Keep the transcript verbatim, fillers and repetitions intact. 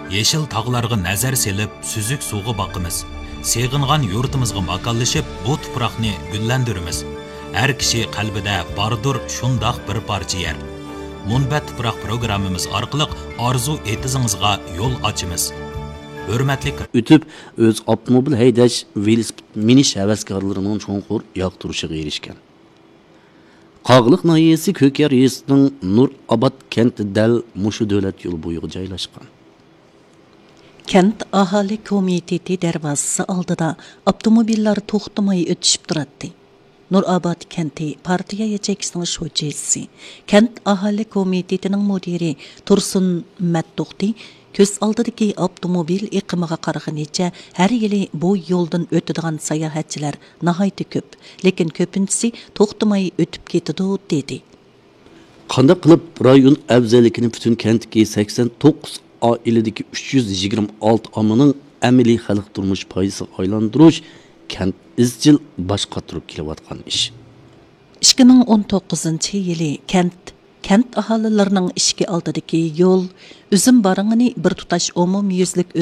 يېشىل تاغلارغا نەزەر سېلىپ، سۈزۈك سۇغا باقىمىز. سېغىنغان يۇرتىمىزغا ماكانلىشىپ، بۇ تۇپراقنى گۈللەندۈرىمىز. ھەر كىشى قەلبىدە باردۇر شۇنداق بىر پارچە يەر. مۇنبەت تۇپراق پروگراممىمىز ئارقىلىق ئارزۇ ئېتىزىڭىزغا يول ئاچىمىز. ھۆرمەتلىك ئۆتۈپ، ئۆز ئاپتوموبىل ھەيدەش، ۋېلىسىپىت مىنىش ھەۋەسكارلىرىنىڭ چوڭقۇر ياقتۇرۇشىغا ئېرىشكەن. قاغىلىق ناھىيەسى كۆكيار يېزىسىنىڭ نۇرئاباد كەنتى دەل مۇشۇ دۆلەت يولى بويىغا جايلاشقان. كەنت ئاھالە كومىتېتى دەرۋازىسى ئالدىدا ئاپتوموبىللار توختىماي ئۆتۈشۈپ تۇراتتى. نۇرئاباد كەنتى پارتىيە ياچېيكىسىنىڭ شۇجىسى، كەنت ئاھالە كومىتېتىنىڭ مۇدىرى تۇرسۇن مەتتوختى كۆز ئالدىدىكى ئاپتوموبىل ئېقىمىغا قارىغىنىچە، ھەر يىلى بۇ يولدىن ئۆتىدىغان ساياھەتچىلەر ناھايىتى كۆپ، لېكىن كۆپىنچىسى توختىماي ئۆتۈپ كېتىدۇ، دېدى. قانداق قىلىپ رايون ئەۋزەللىكىنى پۈتۈن كەنتتىكى سەكسەن توققۇز ئائىلىدىكى ئۈچ يۈز يىگىرمە ئالتە ئاممىنىڭ ئەمەلىي خەلق تۇرمۇش پايدىسىغا ئايلاندۇرۇش كەنت ئىزچىل باش قاتۇرۇپ كېلىۋاتقان ئىش. ئىككى مىڭ ئون توققۇزىنچى يىلى كەنت، كەنت ئاھالىلىرىنىڭ ئىشىكى ئالدىدىكى يول، ئۈزۈم بارىڭىنى بىر تۇتاش ئومۇميۈزلۈك